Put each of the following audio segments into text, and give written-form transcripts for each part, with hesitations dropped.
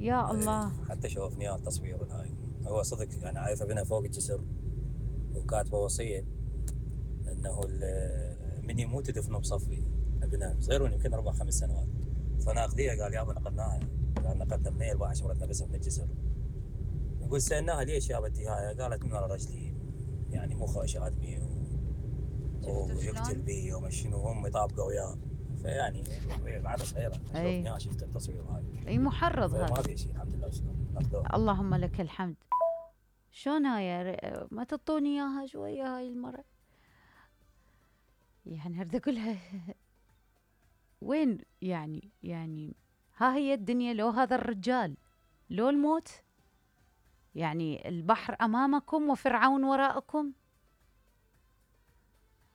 يا الله. حتى شوفني اياه التصوير هاي. هو صدق يعني عايفه بنا فوق الجسر، وكاتبه وصيه انه من يموت يدفنه بصفي ابنها صغيرون يمكن 4-5 سنوات. فناخذيها قال يابا نقلناها، قال نقلنا منين؟ 14 مرتنا بس من الجسر. نقول سالناها ليش يا بنتي هاي؟ قالت من ورا رجلي يعني مو خاشات بي ويقتل بي وما شنو، هم يطابقوا وياه. فيعني بعد صغيره شوفني شفت التصوير هاي. اي محرض هذا. ما في شيء الحمد لله. اللهم لك الحمد. شلون هاي؟ ما تعطوني اياها شويه هاي المره؟ يعني اريد اقولها وين يعني ها هي الدنيا، لو هذا الرجال، لو الموت. يعني البحر امامكم وفرعون وراءكم.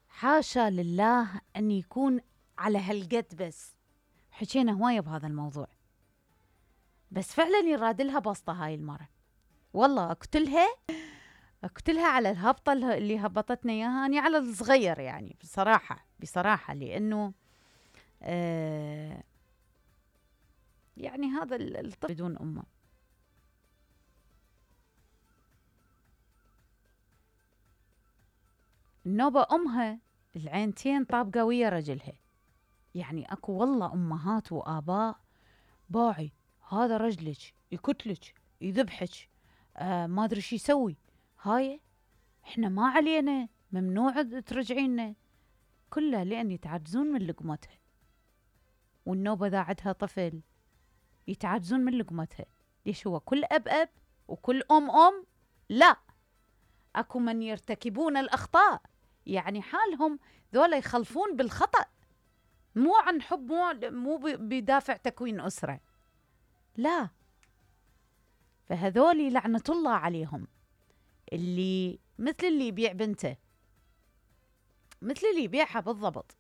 حاشا لله ان يكون على هالقد. بس حكينا هوايه بهذا الموضوع، بس فعلا يراد لها بسطه هاي المره. والله اقتلها على الهبطه اللي هبطتنا اياها، اني على الصغير يعني بصراحه لانه يعني هذا الطفل بدون امه. النوبه امها العينتين طابقه ويا رجلها. يعني اكو والله امهات واباء باعي هذا رجلك يقتلك يذبحك، ما ادري شو يسوي. هاي احنا ما علينا، ممنوع ترجعينا، كلها لان يتعجزون من لقمتها. والنوبه اذا عندها طفل يتعجزون من لقمتها. ليش؟ هو كل اب وكل ام؟ لا، اكو من يرتكبون الاخطاء، يعني حالهم ذولا يخلفون بالخطأ، مو عن حب، مو بدافع تكوين أسرة، لا. فهذولي لعنة الله عليهم، اللي مثل اللي يبيع بنته، مثل اللي يبيعها بالضبط.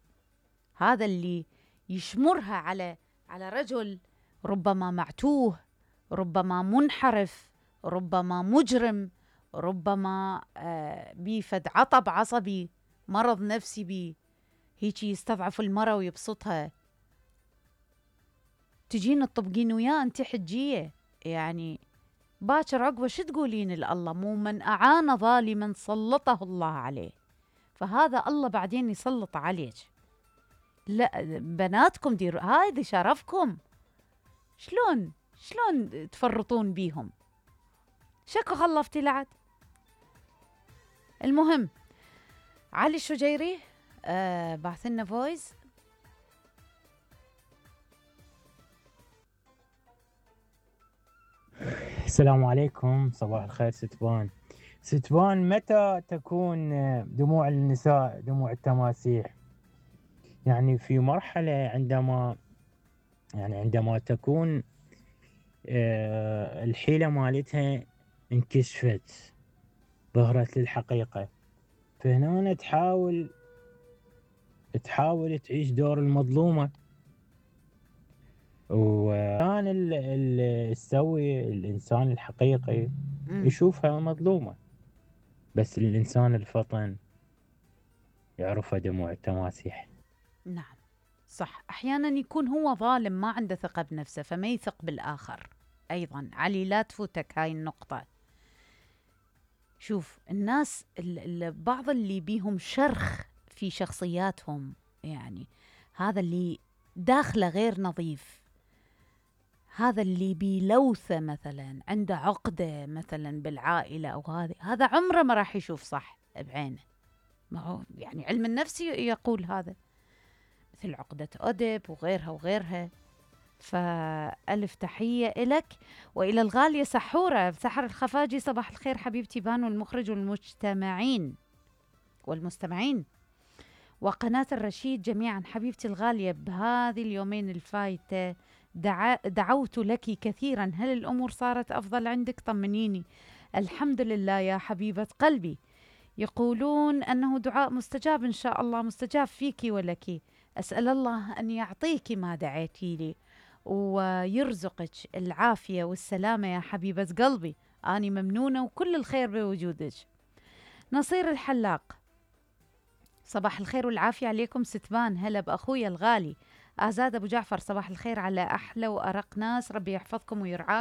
هذا اللي يشمرها على رجل ربما معتوه، ربما منحرف، ربما مجرم، ربما بيفد عطب عصبي، مرض نفسي بيه، هيجي يستضعف المرأة ويبسطها. تجين تطبقين وياه انت حجية، يعني باكر عقبه شو تقولين لله؟ مو من أعان ظالما سلطه الله عليه. فهذا الله بعدين يسلط عليك. لا بناتكم ديروا هذا شرفكم. شلون تفرطون بيهم؟ شكو خلفتي لعد. المهم علي الشجيري بعث لنا فويس. السلام عليكم، صباح الخير ستبان متى تكون دموع النساء دموع التماسيح؟ يعني في مرحلة عندما تكون الحيلة مالتها انكشفت، ظهرت للحقيقة، فهنا تحاول تعيش دور المظلومة، وكان السوي الإنسان الحقيقي يشوفها مظلومة، بس الإنسان الفطن يعرفها دموع التماسيح. نعم صح، أحيانا يكون هو ظالم ما عنده ثقة بنفسه فما يثق بالآخر. أيضا علي لا تفوتك هاي النقطة. شوف الناس بعض اللي بيهم شرخ في شخصياتهم، يعني هذا اللي داخله غير نظيف، هذا اللي بيلوثه مثلا، عنده عقدة مثلا بالعائلة أو هذا عمره ما راح يشوف صح بعينه. ما هو يعني علم النفس يقول هذا، مثل عقدة أدب وغيرها. فألف تحية إلك وإلى الغالية سحورة سحر الخفاجي. صباح الخير حبيبتي بانو المخرج والمستمعين وقناة الرشيد جميعا. حبيبتي الغالية بهذه اليومين الفايتة دعوت لك كثيرا، هل الأمور صارت أفضل عندك؟ طمنيني. الحمد لله يا حبيبة قلبي. يقولون أنه دعاء مستجاب إن شاء الله، مستجاب فيك ولك. أسأل الله أن يعطيك ما دعيتي لي ويرزقك العافية والسلامة يا حبيبة قلبي. أني ممنونة وكل الخير بوجودك. نصير الحلاق صباح الخير والعافية عليكم ستبان. هلا بأخويا الغالي آزاد أبو جعفر. صباح الخير على أحلى وأرق ناس، ربي يحفظكم ويرعاكم